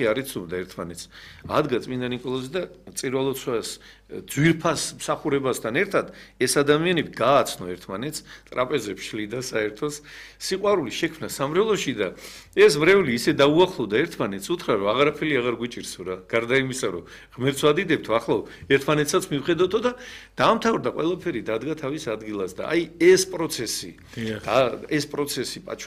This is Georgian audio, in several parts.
არის ცუდა ერთმანეთს. ადგა წმინდა ნიკოლოზი და წირვალოცვას ძვირფას მსახურებასთან ერთად ეს ადამიანები გააცნო ერთმანეთს, ტრაპეზებს შლიდა საერთოს, სიყვარული შექმნა სამრევლოში და ეს მრევლი ისე დაუახლოვდა ერთმანეთს, უთხრა რომ აღარაფერი აღარ გვიჭირსო რა, გარდა იმისა რომ ღმერთს ვადიდებთო, ახლა ერთმანეთსაც მივხედოთო და დაამთავრდა ყველაფერი, დადგა თავის ადგილას და აი ეს პროცესი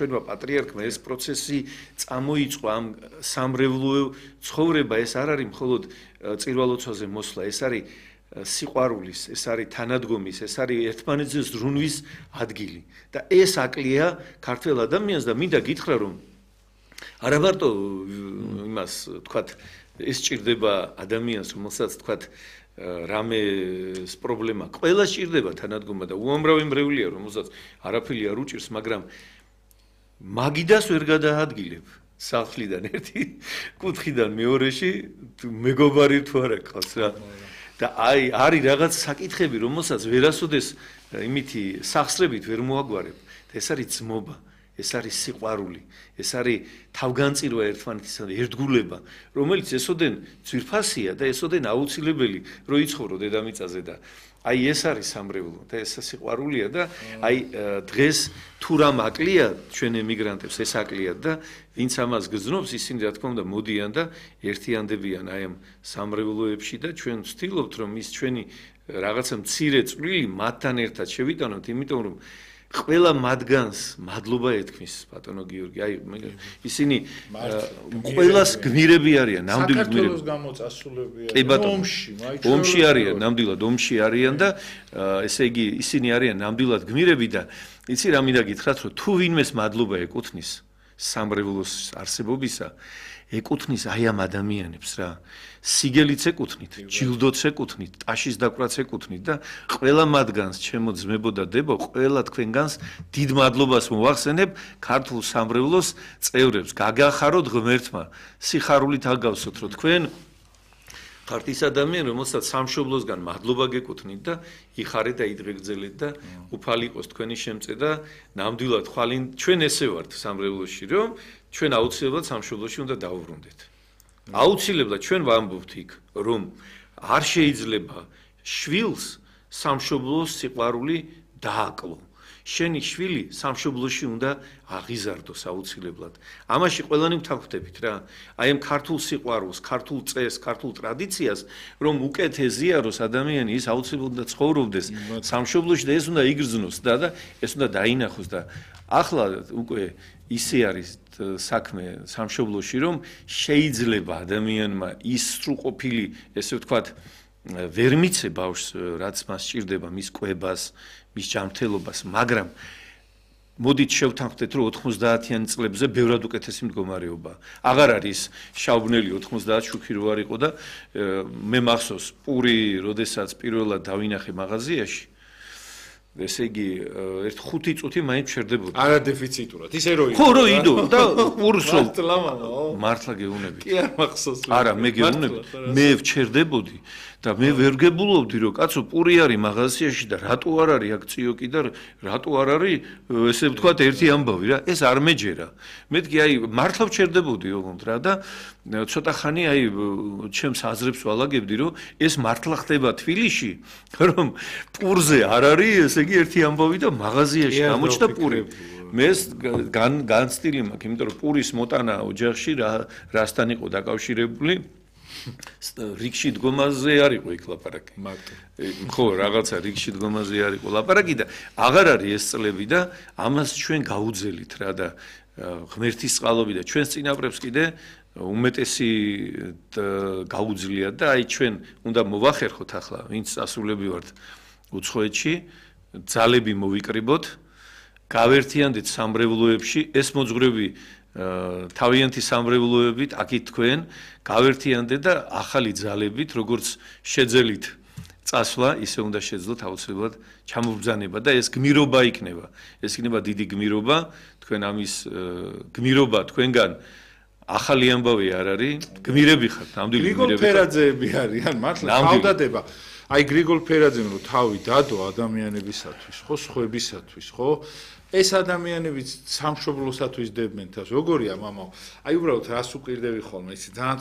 ჩვენმა პატრიარქმა ეს პროცესი წამოიწყო ამ სამრევლო ცხოვრება ეს არ არის მხოლოდ წირვალოცვაზე მოსვლა, ეს არის სიყვარულის, ეს არის თანადგომის, ეს არის ერთმანეთზე ზრუნვის ადგილი. და ეს აკლია ქართველ ადამიანს და მინდა გითხრა რომ არა მარტო იმას თქვათ ეს ჭირდება ადამიანს, რომელსაც თქვათ რამეს პრობლემა, ყველა ჭირდება თანადგომა და უამრავი მრევლია, რომელსაც არაფერი არ უჭირს, მაგრამ მაგიდას ვერ გადაადგილებ. სახლიდან ერთი კუთხიდან მეორეში მეგობარი თუ არა ყავს რა და აი არის რაღაც საკითხები რომელსაც ვერასოდეს იმითი სახსრებით ვერ მოაგვარებ და ეს არის ძმობა ეს არის სიყვარული ეს არის თავგანწირვა ერთმანეთისა და ერთგულება რომელიც ესოდენ ძვირფასია და ესოდენ აუცილებელი რომ იცხოვრო დედამიწაზე და აი ეს არის სამრევლო და ეს სიყვარულია და აი დღეს თუ რამ აკლია ჩვენ ემიგრანტებს ეს აკლია და ვინც ამას გრძნობს ისინი რა თქმა უნდა მოდიან და ერთიანდებიან აი ამ სამრევლოებში და ჩვენ ვცდილობთ რომ ის ჩვენი რაღაცა მცირე წვლილი მათთან ერთად შევიტანოთ იმიტომ რომ ყველა მათგანს მადლობა ეთქმის ბატონო გიორგი აი ისინი ყველას გმირები არიან ნამდვილი გმირები საქართველოს გამოწასულებია ომში არიან ნამდვილად ომში არიან და ესე იგი ისინი არიან ნამდვილად გმირები და იცი რა მინდა გითხრათ რომ თუ ვინმეს მადლობა ეკუთვნის სამრევლოს არსებობისა ეკუთვნის აი ამ ადამიანებს რა სიგელიც ეკუთვნით, ჯილდოც ეკუთვნით, ტაშის დაკვრაც ეკუთვნით და ყველა მათგანს ჩემო ძმებო და დებო, ყველა თქვენგანს დიდ მადლობას მოვახსენებ ქართულ სამრევლოს წევრებს. გაგახაროთ ღმერთმა, სიხარულით აგავსოთ, რომ თქვენ ხართ ის ადამიანი, რომელსაც სამშობლოსგან მადლობა გეკუთვნით და იხარეთ და იდღეგრძელეთ და უფალი იყოს თქვენი შემწე და ნამდვილად ხვალინ ჩვენ ესე ვართ სამრევლოში, რომ ჩვენ აუცილებლად სამშობლოში უნდა დავუბრუნდეთ. აუცილებლად ჩვენ ვამბობთ იქ რომ არ შეიძლება შვილს სამშობლოს სიყვარული დააკლო. შენი შვილი სამშობლოში უნდა აღიზარდოს აუცილებლად. ამაში ყველანი ვთანხმდებით რა. აი ამ ქართულ სიყვარულს, ქართულ წესს, ქართულ ტრადიციას, რომ უკეთ ეზიაროს ადამიანი ის აუცილებლად უნდა ცხოვრობდეს სამშობლოში და ეს უნდა იგრძნოს და ეს უნდა დაინახოს და ახლა უკვე ისე არის საქმე სამშობლოში რომ შეიძლება ადამიანმა ის სრულყოფილი ესე ვთქვათ ვერ მიცე ბავშვს რაც მას სჭირდება მის კვებას მის ჯანმრთელობას მაგრამ მოდით შევთანხმდეთ რომ 90-იან წლებზე ბევრად უკეთესი მდგომარეობა აღარ არის შავბნელი 90 შუქი რო არ იყო და მე მახსოვს პური როდესაც პირველად დავინახე მაღაზიაში ესე იგი 1-5 წუთი მაინც შერდებოდა. არა დეფიციტურად. ისე რო ხო რო იდო და პურს მართლა გეუნები. კი არ მახსოვს. არა მე გეუნები. მე ვჩერდებოდი და მე ვერ გებულობდი რომ კაცო პური არის მაღაზიაში და რატო არ არის აქ წიოკი და რატო არ არის ესე ვთქვათ ერთი ამბავი რა. ეს არ მეჯერა. მეთქი აი მართლა ვჩერდებოდი ოღონდ რა და ცოტა ხანი აი ჩემს აზრებს ვალაგებდი რომ ეს მართლა ხდება თბილისში რომ პურზე არ არის ესე იგი ერთი ამბავი და მაღაზიაში გამოჩნდა პური. მე განცდილი მაქვს, იმიტომ რომ პურის მოტანა ოჯახში რასთან იყო დაკავშირებული რიგში დგომაზე არ იყო იქ ლაპარაკი. ხო, რაღაცა რიგში დგომაზე არ იყო ლაპარაკი და აღარ არის ეს წლები და ამას ჩვენ გაუძელით რა და ღმერთის წყალობით და ჩვენს წინაპრებს კიდე უმეტესი გაუძლიათ და აი ჩვენ უნდა მოვახერხოთ ახლა ვინც ასულები ვართ უცხოეთში ძალები მოვიკრიბოთ გავერთიანდეთ სამრევლოებში ეს მოძღვრები თავიანთი სამრევლოებით აქეთ თქვენ გავერთიანდეთ და ახალი ძალებით როგორც შეძელით წასვლა ისე უნდა შეძლოთ აუცილებლად ჩამობრძანება და ეს გმირობა იქნება ეს იქნება დიდი გმირობა თქვენ ამის გმირობა თქვენგან ახალი ამბავი არ არის გმირები ხართ ნამდვილი გმირები გრიგოლ ფერაძეები არიან მართლა თავდადება აი გრიგოლ ფერაძემ რო თავი დადო ადამიანებისათვის ხო სხვებისათვის ხო ეს ადამიანებიც სამშობლოსათვის დებენ თავს როგორია მამაო აი უბრალოდ რას უყირდები ხოლმე ის ძალიან